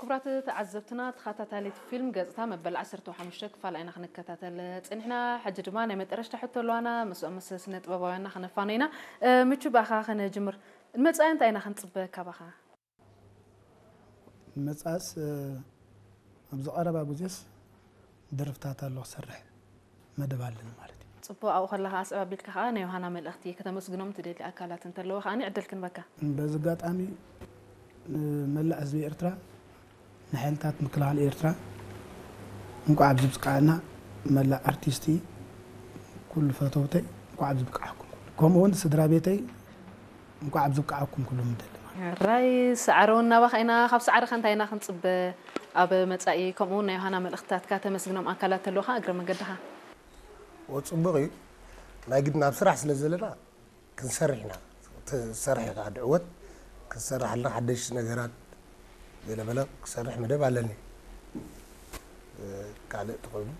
ክቡራት ተዓዘብትና፣ ተኸታታሊት ፊልም ገጽታ መበል ዓሰርተ ሓሙሽተ ክፋል ኢና ክንከታተል ጸኒሕና። ሕጂ ድማ ናይ መጠረሽታ ሕቶ ኣለዋና፣ ምስኦም ምስ ስነ ጥበባውያንና ክነፋኖ ኢና። ምቹ፣ ብኣኻ ከነጅምር። ንመጻኢ እንታይ ኢና ክንጽበ ካባኻ? መጻእስ ኣብዚ ቀረባ ግዜስ ደርፍታት ኣሎ ክሰርሕ መደብ ኣለኒ ማለት እዩ። ጽቡቕ፣ ኣብኡ ከለኻ ኣስዕብ ኣቢልካ ከኣ ናይ ዮሃና መልእኽቲ ከተመስግኖም ትደሊ ኣካላት እንተለዎ ከኣ ዕድል ክንበካ። በዚ ኣጋጣሚ ንመላእ ህዝቢ ኤርትራ፣ ንሓይልታት ምክልኻል ኤርትራ እንኳዕ ኣብዚ ብቃዕና፣ መላእ ኣርቲስቲ፣ ኩሉ ፈተውተይ እንኳዕ ኣብዚ ብቃዕኩም፣ ከምኡ እውን ስድራ ቤተይ እንኳዕ ኣብዚ ብቃዕኩም ኩሉ ምደሊ። ሕራይ፣ ሰዓረ እውን ናባኻ ኢና። ካብ ሰዓርኻ እንታይ ኢና ክንጽበ ኣብ መጻኢ? ከምኡ እውን ናይ ዮሃና መልእኽትታትካ ተመስግኖም ኣካላት ተለውኻ እግረ መንገድኻ። ወ ጽቡቕ እዩ። ናይ ግድን ኣብ ስራሕ ስለ ዘለና ክንሰርሕ ኢና። ትሰርሕ ኢኻ ድዕወት፣ ክንሰርሕ ኣለና ሓደሽቲ ነገራት ገለ በለ ክሰርሕ መደብ ኣለኒ። ካልእ ተኾይኑ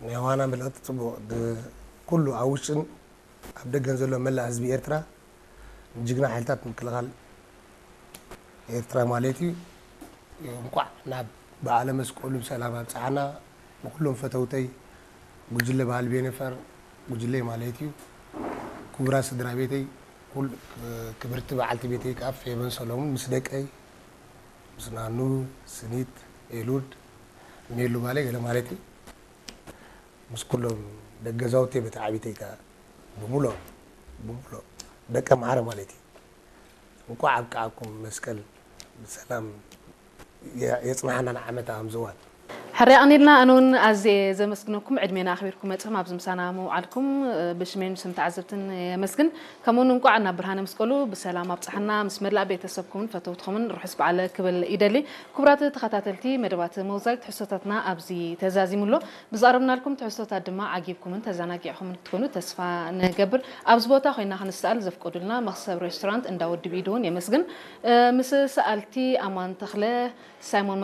ናይ ዋና መልእኽቲ ጽቡቕ፣ ኩሉ ኣብ ውሽጥን ኣብ ደገን ዘሎ መላእ ህዝቢ ኤርትራ፣ ንጅግና ሓይልታት ምክልኻል ኤርትራ ማለት እዩ፣ እንኳዕ ናብ በዓለ መስቀሉ ብሰላም ኣብጽሓና። ንኩሎም ፈተውተይ፣ ጉጅለ ባህሊ ቤነፈር፣ ጉጅለይ ማለት እዩ፣ ክቡራት ስድራ ቤተይ፣ ኩል- ክብርቲ በዓልቲ ቤተይ ከኣ ፌቨን ሰሎሙን ምስ ደቀይ፣ ምስ ናኑ፣ ስኒት፣ ኤሉድ፣ ሜሉ ባለ ገለ ማለት እዩ፣ ምስ ኩሎም ደቂ ገዛውተይ፣ በተዓቢተይ ከኣ ብምሎ ብምሎ ደቂ ኣምሓረ ማለት እዩ። እንኳዕ ኣብቃዓኩም፣ መስቀል ብሰላም የጽናሕና ንዓመታ ከምዚ እዋን። ሕራይ የቐንየልና። ኣነ እውን ኣዝየ ዘመስግነኩም፣ ዕድሜና ኣኽቢርኩም መጺኹም ኣብዚ ምሳና ምውዓልኩም ብሽመይን ብስም ተዓዘብትን የመስግን። ከምኡ እውን እንቋዕ ናብ ብርሃነ መስቀሉ ብሰላም ኣብጽሓና፣ ምስ መላእ ቤተሰብኩምን ፈተውትኹምን ርሑስ በዓል ክብል ይደሊ። ክቡራት ተኸታተልቲ መደባት ሞዛይክ፣ ትሕዝቶታትና ኣብዚ ተዛዚሙ ኣሎ። ብዝቐረብናልኩም ትሕዝቶታት ድማ ዓጊብኩምን ተዘናጊዕኹምን ክትኮኑ ተስፋ ንገብር። ኣብዚ ቦታ ኮይና ክንሰኣል ዘፍቀዱልና መኽሰብ ሬስቶራንት እንዳ ወዲ ብኢድ እውን የመስግን። ምስ ሰኣልቲ ኣማን ተኽለ፣ ሳይሞን